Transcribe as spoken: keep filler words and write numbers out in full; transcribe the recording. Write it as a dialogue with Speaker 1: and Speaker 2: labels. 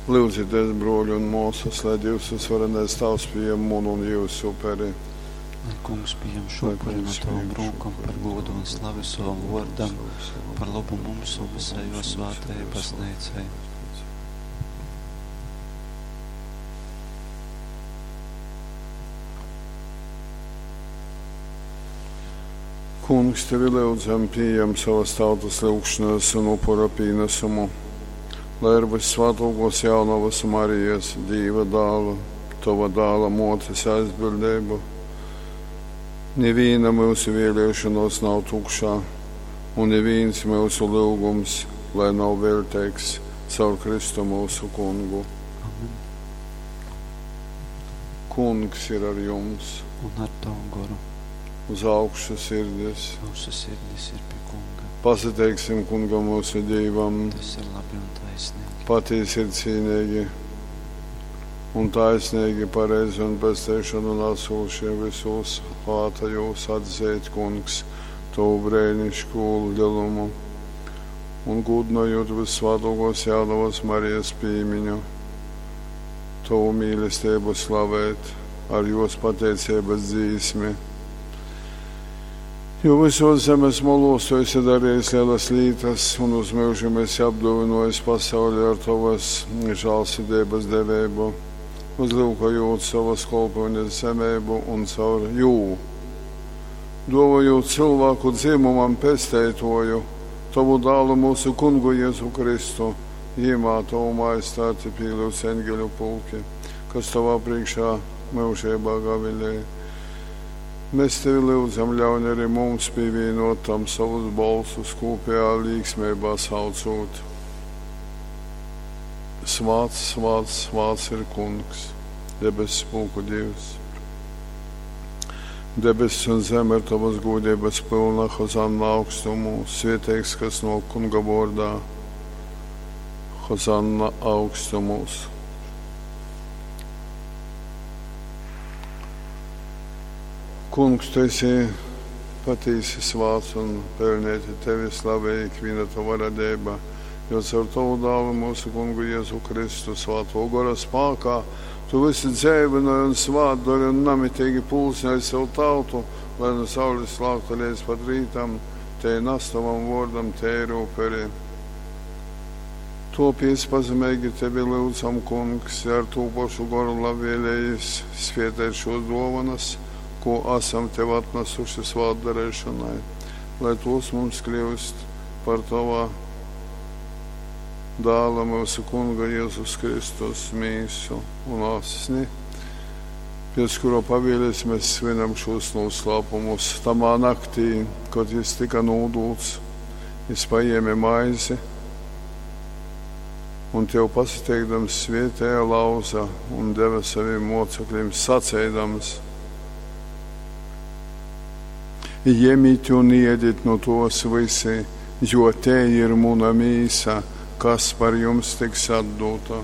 Speaker 1: Lyudzitēs, bruoļi un muosys, lai Dīvs Vysvarenais Tāvs pījam munu un jiusu uperi.
Speaker 2: Lai Kungs pījam šū
Speaker 1: Lai
Speaker 2: upuri no
Speaker 1: Kungs
Speaker 2: tovom
Speaker 1: pījam šo
Speaker 2: rūkom
Speaker 1: upuri
Speaker 2: par
Speaker 1: no
Speaker 2: gūdu un slavi sovam vuordam,
Speaker 1: Slavu
Speaker 2: par lobu mums un visai juo
Speaker 1: mums un
Speaker 2: svātajai
Speaker 1: visai jo
Speaker 2: bazneicai.
Speaker 1: Kungs, tevi lyudzam, pījam savas tautas lyugšanas un upura pīnesumu, lai ar vyssvātuokos Jaunovas Marijas, Dīva dāla, tova dāla muotes aizbildeibu, nivīna myusu vieliešonuos nav tukšā, un nivīns myusu lyugums, lai nav veļteigs, caur Kristu myusu Kungu.
Speaker 2: Amen.
Speaker 1: Kungs ir ar jums,
Speaker 2: Un ar tavu goru.
Speaker 1: Uz augšu sirdis.
Speaker 2: Mūsu sirdis ir pie Kunga.
Speaker 1: Pasateiksim Kungam mūsu Dīvam.
Speaker 2: Tas ir labi un taisnīgi.
Speaker 1: Patiesi ir cīnīgi un taisnīgi, pareizi un pesteišanu nesošie visos svātajos atzīt, Kungs, tavu brēnišķīgo lielumu un gūdinojot vissvātākos Jaunavas Marijas pīmiņu, tavu mīlestību slavēt ar jos pateicības dzīsmi. Jo visos zemes molos tu esi darījis lielas lietas un uz mūžiem esi apdāvinājis pasauli ar tavas žēlsirdības devību, uzlūkojot savas kalpošanas zemību un caur jū, dāvājot cilvēku dzimumam pesteitoju, tavu dālu mūsu kungu Jēzu Kristu, jimā tavu majestāti pīlūdz eņģeļu pulki, kas tavā priekšā mūžībā gavilē. Mēs tevi lūdzam, ļauj arī mums pievienot tam savus balsus kopējā līksmībā saucot. Svāts, svāts, svāts ir Kungs, debesu pulku Dievs. Debesis un zeme ir tavas gūdības pilna, Hozanna augstumos, svieteigs, kas no Kunga vārdā, Hozanna augstumos. Kungs, tu esi patīsi svāts un pelnēti tevi slavē ikviena tava radība, jo caur tavu dālu mūsu kungu Jēzu Kristu svāto gora spākā tu visu dzēvināji un svātdari un namitīgi pulcināji savu tautu, lai no saules lākta līdz pat rītam, te nes tavam vārdam tēru uperi. Topies pazemīgi tevi lūdzam, Kungs, ar to pašu goru labvēlējis svietēt šos dovanas, ko esam tev atnesuši svātdarīšanai, lai tos mums kļūst par tavā dāla mūsu kunga Jēzus Kristus mīsu un asni, pēc kura pavēles mēs svinam šos noslēpumus. Tamā naktī, kad jis tika nūdūts, jis paēma maizi un tev pasateikdams svietēja lauza un deva saviem mocekļiem sacēdams: Jemit un iedit no tos visi, jo te ir muna mīsa, kas par jums tiks atdota.